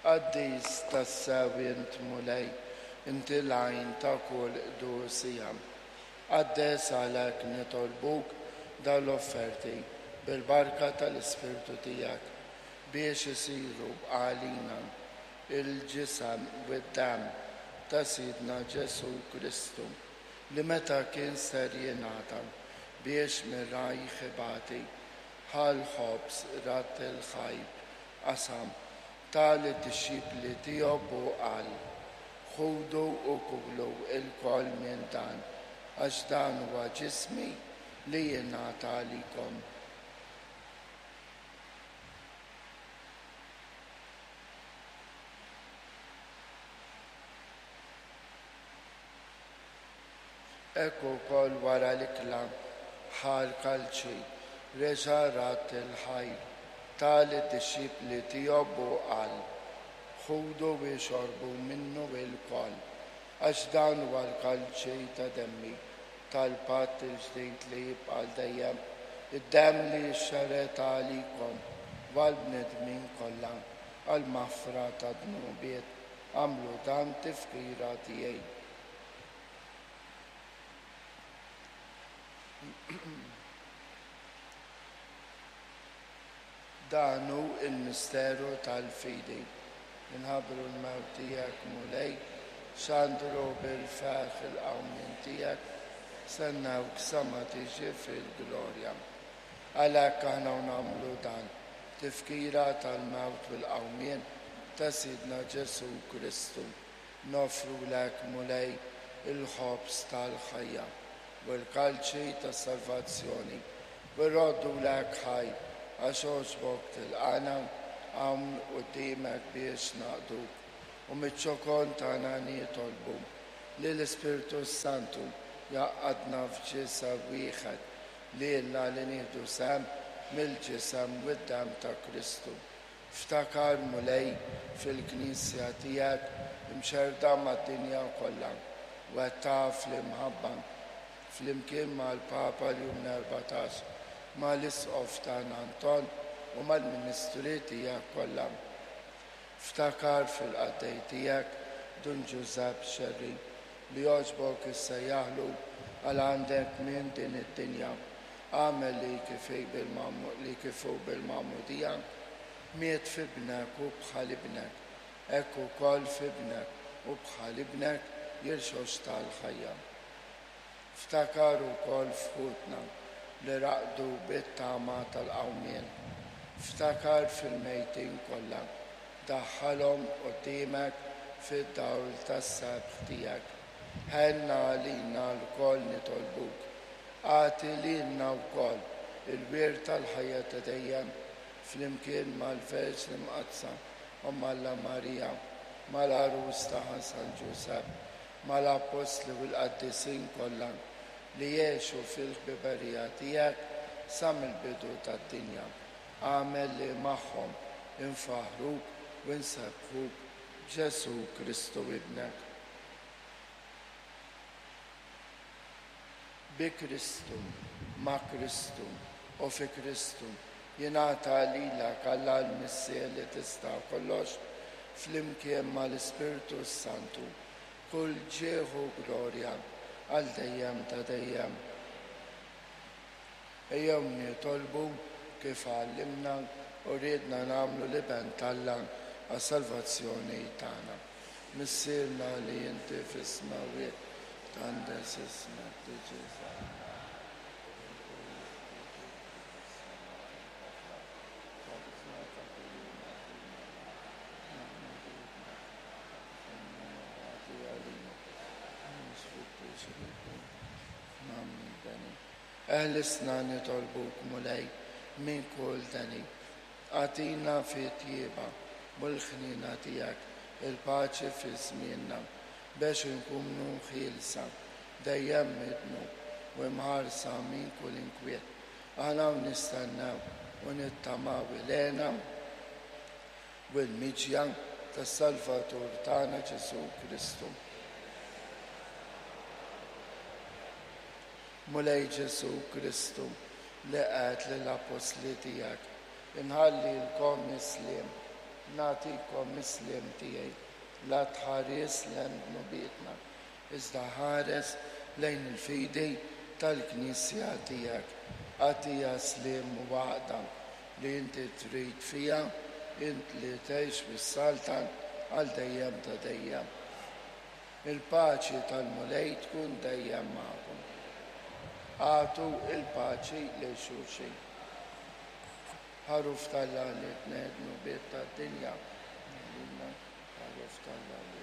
Qaddis tassew int, Mulej, inti l-għajn ta' kull qdusija. Qaddes għalhekk nitolbuk dawn l-offerti bil-barka tal-Ispirtu tiegħek, biex isiru għalina l-ġisem u d-demm ta' Sidna Ġesù Kristu, li meta kien ser jingħata biex mir-rajh ibati, ħa l-ħobż, radd il-ħajr, qasam, ta lid-dixxipli tiegħu u qal, Ħudu u kulu lkoll minn dan, għax dan huwa ġismi li jingħata għalikom. Hekk ukoll wara l-ikla ħa l-kalċi, reġa' radd il-ħajr, ta lid-dixxipli tiegħu u qal, Ħudu u ixorbu minnu ilkoll, għax dan huwa l-kalċi ta' demmi, tal-patt il-ġdid li jibqa' għal dejjem, id-demm li jixxerred għalikom u għall-bnedmin kollha għall-maħfra tad-dnubiet. Agħmlu dan tifkira tiegħi. Dan hu l-misteru tal-fidi. Inħabbru l-mewt tiegħek, Mulej, xandru bil-ferħ il-qawmien tiegħek, stennewk sa ma tiġi fil-glorja. Għalhekk aħna u nagħmlu dan, tifkira tal-mewt u l-qawmien ta' Sidna Ġesù Kristu. Noffrulek, Mulej, il-ħobż tal-ħajja u l-kalċi tas-salvazzjoni, u rroddulek ħaj għax għoġbok tilqagħna hawn quddiemek biex naqduk, u miċ-ċokon tagħna nitolbu li l-Ispirtu s-Santu jgħaqqadna f'ġisem wieħed, lilna li nieħdu sehem mill-ġisem u d-demm ta' Kristu. Ftakar, Mulej, fil-Knisja tiegħek imxerrda mad-dinja kollha, wettaqha fl-imħabba, flimkien mal-Papa Ljun 14, mal-Isqof tagħna Anton u mal-ministri tiegħek kollha. Ftakar fil-qaddej tiegħek Dun Ġużepp Scerri, li għoġbok issejjaħlu għal għandek minn din id-dinja. Agħmel li kif hi li kif hu bil-magħmudija miet f'ibnek u bħal ibnek, hekk ukoll f'ibnek u bħal ibnek jirxoxta l-ħajja. Ftakar ukoll f'ħutna li raqdu bit-tama tal-qawmien. Ftakar fil-mejtin kollha, daħħalhom quddiemek fid-dawl tas-sebħ tiegħek. Ħenn għalina lkoll nitolbuk. Agħti lilna wkoll il-wirt tal-ħajja ta' dejjem, flimkien mal-Verġni Mqaddsa, Omm Alla Marija, mal-Għarus tagħha San Ġużepp, mal-Appostli u l-qaddisin kollha li għexu fil-ħbiberija tiegħek sa mill-bidu tad-dinja. Agħmel li magħhom infaħħruk u nsebbħuk b'Ġesù Kristu Ibnek. Bi Kristu, ma' Kristu, u fi Kristu, jingħata lilek, Alla l-Missier li tista' kollox, flimkien mal-Ispirtu s-Santu, kull ġieħ u glorja għal dejjem ta' dejjem. Ejjew nitolbu kif għallimna u riedna nagħmlu l-Iben t'Alla għas-salvazzjoni tagħna. Missierna li inti fis-smewwiet, tqandes ismek, tiġi saltnatek, Eħlisna nitolbuk, Mulej, minn kull deni. Agħtina fit-tjieba u l-ħniena tiegħek il-paċi fi żmienna, bex inkunu ħielsa dejjem mid-dnub u imħarsa minn kull inkwiet. Aħna u nistennew u nittamaw il-hena u l-miġja tas-Salvatur tagħna Ġesù Kristu. Mulej Ġesù Kristu, li għedt lill-appostli tiegħek, Inħallilkom is-sliem. Nagħtikom is-sliem tiegħi. La tħares lejn dnubietna, iżda ħares lejn il-fidi tal-Knisja tiegħek. Agħtiha sliem u għaqda li inti trid fiha, int li tgħix fis-saltan għal dejjem ta' dejjem. Il-paċi tal-Mulej tkun dejjem magħkom. Agħtu l-paċi lil xulxin. Ħaruf t'Alla li tneħħi d-dnubiet tad-dinja. Ħaruf t'Alla li.